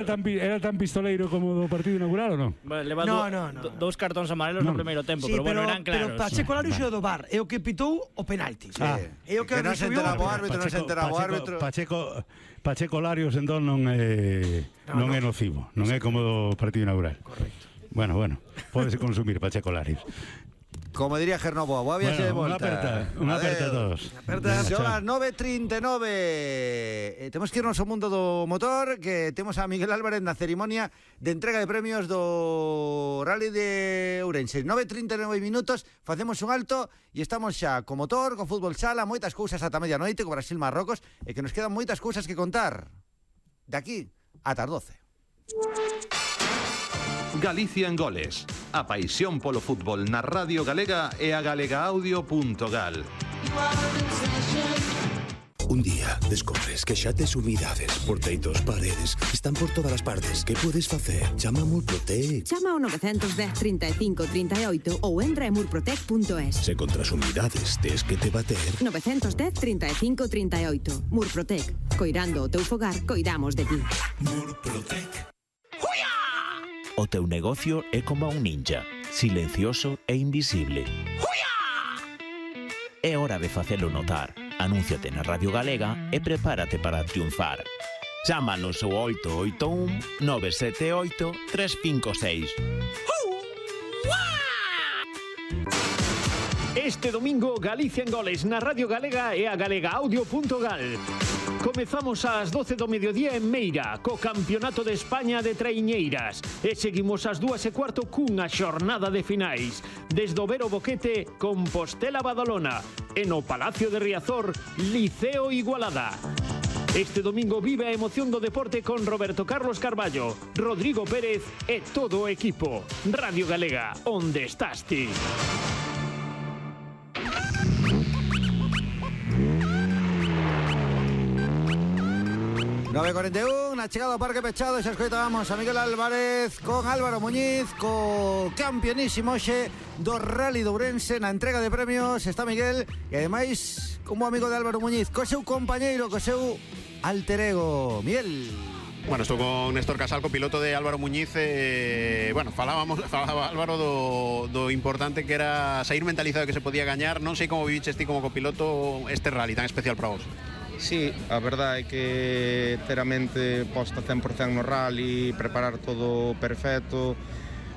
Era tan pistoleiro como do partido inaugural ou non? Leva dous cartóns amarelos no primeiro tempo, sí, pero bueno, eran claros. Pero Pacheco Larios é o do VAR, é o que pitou o penalti. É o que non se enteraba o árbitro, non se enteraba o árbitro. Pacheco Larios entón non é nocivo, non é como do partido inaugural. Correcto. Bueno, pódese consumir Pacheco Larios. Como diría Gernoboa, boa viaxe de volta. Unha aperta a todos. Son as 9:39. Temos que irnos ao mundo do motor, que temos a Miguel Álvarez na cerimonia de entrega de premios do Rally de Ourense. 9:39 minutos, facemos un alto e estamos xa co motor, co fútbol sala, moitas cousas ata medianoite, co Brasil-Marrocos, e que nos quedan moitas cousas que contar de aquí ata as 12. Galicia en goles. A paixón polo fútbol na Radio Galega e a galegaaudio.gal. Un día descobres que xa tes humidades, porteitos, paredes, están por todas as partes. Que podes facer? Chama a Murprotec. Chama ao 910 35 38 ou entra en murprotec.es. Se contra as humidades tes que te bater. 910 35 38. Murprotec. Coirando o teu fogar, coidamos de ti. Murprotec. O teu negocio é como un ninja, silencioso e invisible. É hora de facelo notar. Anúnciate na Radio Galega e prepárate para triunfar. Chámanos ao 881 978 356. Este domingo, Galicia en goles na Radio Galega e a galegaaudio.gal. Comezamos ás 12 do mediodía en Meira, co Campeonato de España de Traiñeiras. E seguimos ás 2:15 cunha xornada de finais. Desde o Vero Boquete, Compostela Badalona. E no Palacio de Riazor, Liceo Igualada. Este domingo vive a emoción do deporte con Roberto Carlos Carballo, Rodrigo Pérez e todo o equipo. Radio Galega, onde estás ti? 9:41, na chegada ao Parque Pechado, xa escoitábamos a Miguel Álvarez con Álvaro Muñiz, co campeonísimo xe do Rally de Ourense. Na entrega de premios está Miguel e ademais como amigo de Álvaro Muñiz, co seu compañeiro, co seu alter ego, Miguel. Bueno, estou con Néstor Casal, copiloto de Álvaro Muñiz. Bueno, falaba Álvaro do importante que era sair mentalizado que se podía gañar. Non sei como viviches ti como copiloto este rally tan especial para vos. Sí, a verdade é que ter a mente posta 100% no rally, preparar todo perfecto,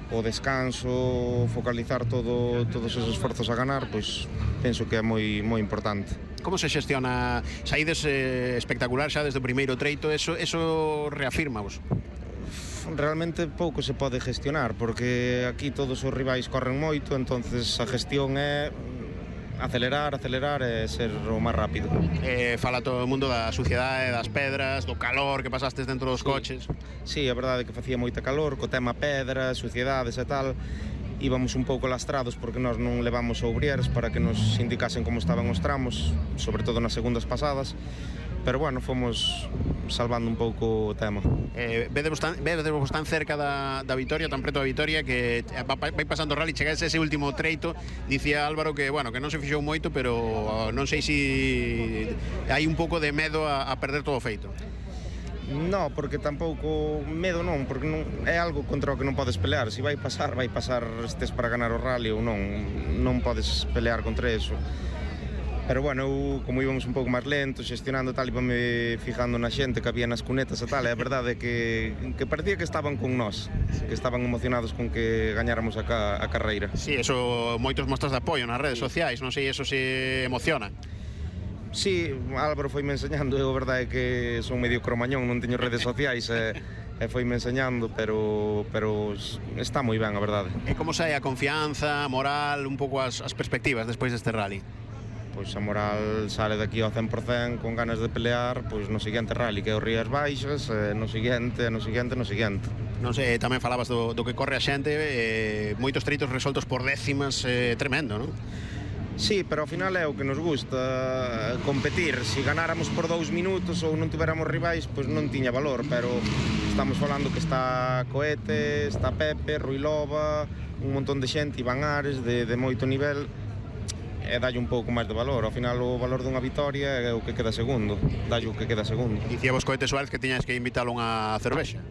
o descanso, focalizar todos esos esforzos a ganar, pois penso que é moi importante. Como se xestiona? Saídes espectacular xa desde o primeiro treito, eso reafirma-vos? Realmente pouco se pode gestionar, porque aquí todos os rivais corren moito, entonces a gestión é acelerar e ser o máis rápido. Fala todo o mundo da suciedade, das pedras, do calor que pasastes dentro dos coches. Sí, a verdade é que facía moita calor, co tema pedras, suciedades e tal. Íbamos un pouco lastrados porque nós non levamos obrieres para que nos indicasen como estaban os tramos, sobre todo nas segundas pasadas. Pero bueno, fomos salvando un pouco o tema. Vedevos tan cerca da vitoria, tan preto da vitoria, que vai pasando o rally, chegase ese último treito. Dicía Álvaro que, bueno, que non se fixou moito, pero non sei se hai un pouco de medo a perder todo o feito. No, porque tampouco medo non, porque non é algo contra o que non podes pelear. Se vai pasar, estes para ganar o rally ou non podes pelear contra eso. Pero bueno, eu, como íbamos un pouco máis lentos, xestionando tal, íbame fijando na xente que había nas cunetas e tal, e a verdade é que parecía que estaban con nós, que estaban emocionados con que gañáramos a carreira. Sí, eso, moitos mostras de apoio nas redes sociais, non sei, eso se emociona. Sí, Álvaro foime enseñando, eu a verdade é que son medio cromañón, non teño redes sociais e foime enseñando, pero está moi ben, a verdade. E como sae a confianza, a moral, un pouco as perspectivas despois deste rally? Pois a moral sale daqui ao 100% con ganas de pelear, pois no seguinte rally que é o Rías Baixas, no seguinte. Non sei, tamén falabas do que corre a xente, moitos treitos resoltos por décimas, tremendo, non? Sí, pero ao final é o que nos gusta, competir. Se ganáramos por 2 minutos ou non tiveramos rivais, pois non tiña valor, pero estamos falando que está Coete, está Pepe, Rui Loba, un montón de xente, Iván Ares, de moito nivel, e dalle un pouco máis de valor. Ao final o valor dunha vitoria é o que queda segundo, dalle o que queda segundo. Dicíamos Coete Suárez que tiñas que invitalo a unha cervexa.